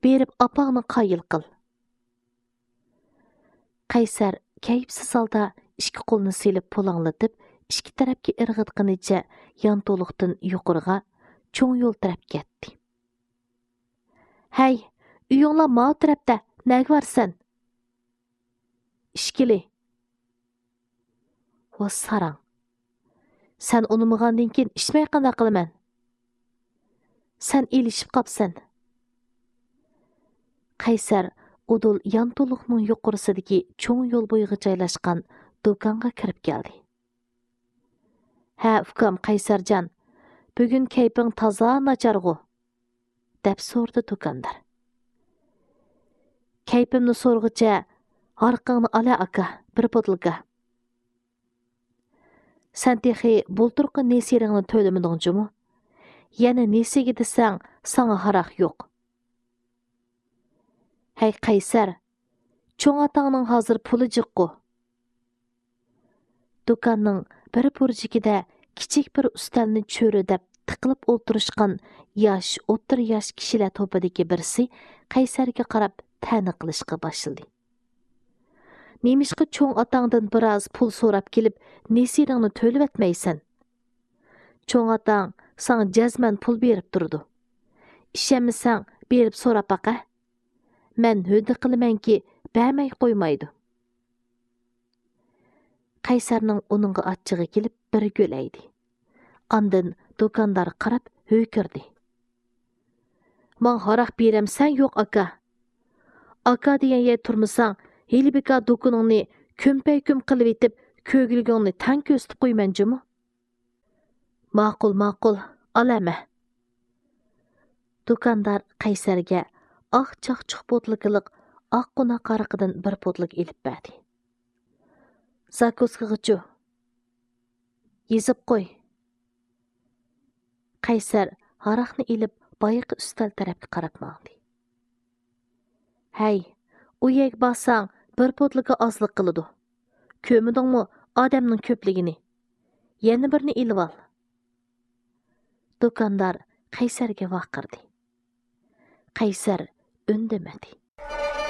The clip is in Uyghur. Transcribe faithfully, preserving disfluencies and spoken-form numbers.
بېرىپ ئاپاڭنى قايىل قىل. قەيسەر كەيپسىز ھالدا ئىككى قولىنى سېلىپ پۇلاڭلىتىپ، ئىككى تەرەپكە ئىرغىتقىنىچە يانتۇلۇقتىن يۇقىرىغا چوڭ يول تەرەپ كەتتى. ھەي، ئۆيۈڭلار ماۋۇ تەرەپتە، نەگە بارىسەن؟ ئىچكىلى. ۋا ساراڭ. سەن ئۇنىمىغاندىن كېيىن ئىچمەي قانداق قىلىمەن؟ سەن ئېلىشىپ قاپسەن. قەيسەر ئۇدۇل يانتۇلۇقنىڭ يۇقىرىسىدىكى چوڭ يول بويىغا جايلاشقان دۇكانغا كىرىپ كەلدى. ھە، ئۇكام قەيسەرجان، بۈگۈن كەيپىڭ تازا ناچارغۇ؟ دەپ سورىدى دۇكاندار. كەيپىمنى سورىغۇچە، ھاراقىڭنى ئالە ئاكا، بىر بوتۇلكا. سەن تېخى بۇلتۇرقى نېسىرىڭنى تۆلىمىدىڭ جۇمۇ؟ يەنە نېسىگە دېسەڭ، ساڭا ھاراق يوق. ھەي قەيسەر، چوڭ ئاتاڭنىڭ ھازىر پۇلى جىققۇ. دۇكاننىڭ بىر بۇرجىكىدە كىچىك بىر ئۈستەلنى چۆرىدەپ تىقىلىپ ئولتۇرۇشقان ياش، ئوتتۇرا ياش كىشىلەر توپىدىكى بىرسى قەيسەرگە قاراپ تەنە قىلىشقا باشلىدى. نېمىشقا چوڭ ئاتاڭدىن بىراز پۇل سوراپ كېلىپ، نېسىرىڭنى تۆلىۋەتمەيسەن؟ چوڭ ئاتاڭ ساڭا جەزمەن پۇل بېرىپ تۇرىدۇ. ئىشەنمىسەڭ، بېرىپ سوراپ باقە. مەن ھۆددە قىلىمەنكى، بەرمەي قويمايدۇ. قەيسەرنىڭ ئۇنىڭغا ئاچچىقى كېلىپ بىر گۆلەيدى. ئاندىن دۇكاندارغا قاراپ ھۆركىرىدى. ماڭا ھاراق بېرەمسەن يوق ئاكا؟ ئاكا دېگەن يەردە تۇرمىساڭ، ھېلى بىكار دۇكىنىڭنى كۈمپەيكۈم قىلىۋېتىپ، كۆگۈلىكىڭنى تەڭ كۆرسىتىپ قويىمەن جۇمۇ. ماقۇل، ماقۇل، ئال ھەمە. دۇكاندار قەيسەرگە ئاق چاقچۇق بوتۇلكىلىق ئاق قوناق ھارىقىدىن بىر بوتۇلكا ئېلىپ بەردى. زاكۇسكىغىچۇ؟ يېزىپ قوي. قەيسەر ھاراقنى ئېلىپ، بايىقى ئۈستەل تەرەپكە قاراپ ماڭدى. ھەي، ئۇ يەرگە بارساڭ، بىر بوتۇلكا ئازلىق قىلىدۇ. كۆرمىدىڭمۇ ئادەمنىڭ كۆپلۈكىنى؟ يەنە بىرنى ئېلىۋال. دۇكاندار قەيسەرگە ۋارقىرىدى. قەيسەر ئۈندىمىدى.